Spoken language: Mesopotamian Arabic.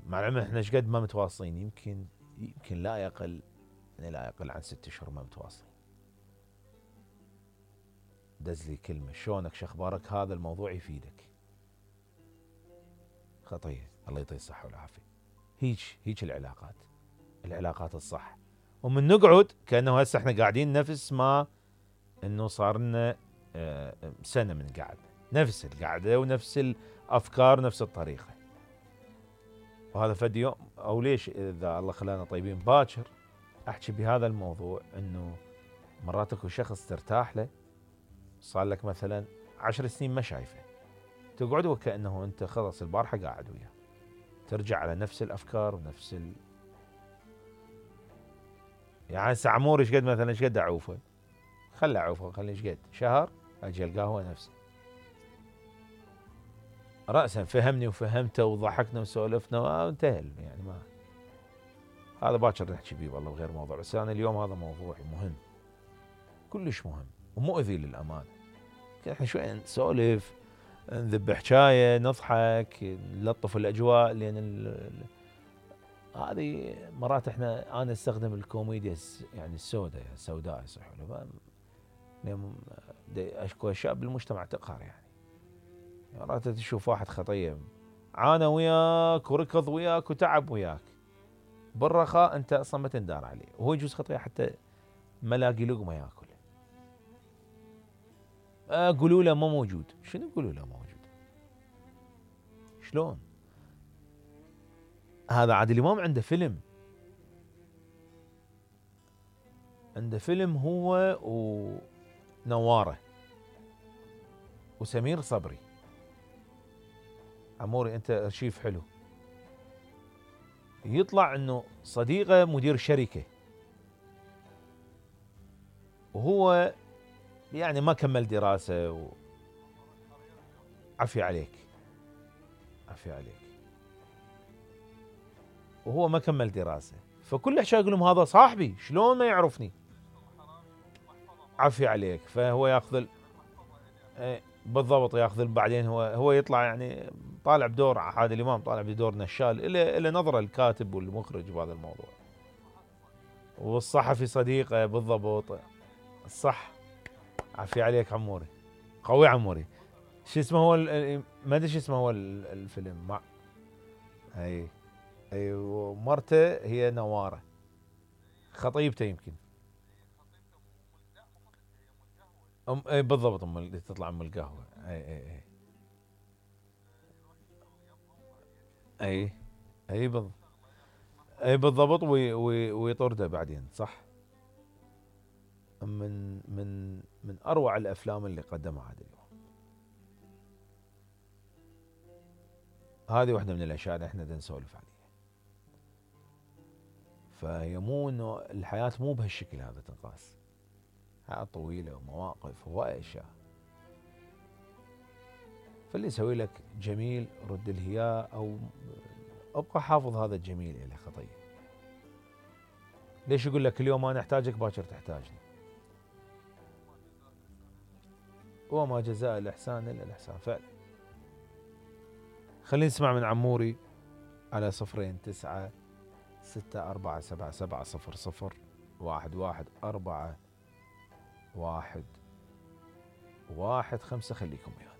مع العلم احنا ايش قد ما متواصلين، يمكن لا يقل عن 6 اشهر ما متواصلين. دز لي كلمه شلونك شخبارك، هذا الموضوع يفيدك. خطيه، الله يعطيه الصحه والعافيه. هيج العلاقات الصح. ومن نقعد كانه هسه احنا قاعدين نفس ما انه صار لنا سنه من قعد، نفس القعده ونفس الافكار ونفس الطريقه. وهذا فد يوم او ليش اذا الله خلانا طيبين باكر احكي بهذا الموضوع، انه مرات اكو شخص ترتاح له صار لك مثلا 10 سنين ما شايفه، تقعد وكانه انت خلص البارحه قاعد وياه، ترجع على نفس الافكار ونفس يعني هسه عموري ايش قد مثلا ايش قد اعوفه، خلي اعوفه، خلي ايش قد شهر اجي القاه هو نفسه راسا فهمني وفهمته وضحكنا وسولفنا وانتهى يعني. ما هذا باكر نحكي بيه والله بغير موضوع، بس انا اليوم هذا موضوع مهم كلش مهم ومؤذي للامانه. احنا شوي نسولف نذب حكايه نضحك نلطف الاجواء، لان هذه مرات انا استخدم الكوميديا يعني السوداء يصح اكو اشياء بالمجتمع تقهر يعني. مرات تشوف واحد خطيه عانى وياك وركض وياك وتعب وياك، بالرخاء انت اصلا ما تندار عليه، وهو يجوز خطيه حتى ما لاقي لقمه ياكل. قولوا له ما موجود، شنو قولوا له موجود؟ شلون؟ هذا عادل امام عنده فيلم هو ونواره وسمير صبري. عموري انت ارشيف حلو، يطلع انه صديقه مدير شركه وهو يعني ما كمل دراسه عفي عليك وهو ما كمل دراسه، فكل حشا يقول لهم هذا صاحبي شلون ما يعرفني، عفي عليك. فهو ياخذ بالضبط ياخذ بعدين هو يطلع يعني طالع بدور عادل امام، طالع بدور نشال، إلى نظره الكاتب والمخرج بهذا الموضوع، والصحفي صديقه بالضبط الصح. عفي عليك عموري، قوي عموري. شو اسمه هو ما ادري شو اسمه هو الفيلم مع اي ومرته هي نواره، خطيبته يمكن اي بالضبط، اللي تطلع القهوه. اي اي بالضبط، اي بالضبط ويطرده بعدين صح. من اروع الافلام اللي قدمها عادل امام. هذه واحده من الاشياء اللي احنا نسولف عليها. فهي مو انه الحياه مو بهالشكل هذا تنقاس، حياه طويله ومواقف وهواي اشياء. فاللي يسوي لك جميل رد له اياه، او ابقى حافظ هذا الجميل الى خطيه. ليش يقول لك اليوم انا احتاجك باكر تحتاجني؟ وما جزاء الاحسان الا الاحسان فعلا. خلينا نسمع من عموري على 02-9-4-7-7-0-0-11-4-1-1-5. خليكم وياي.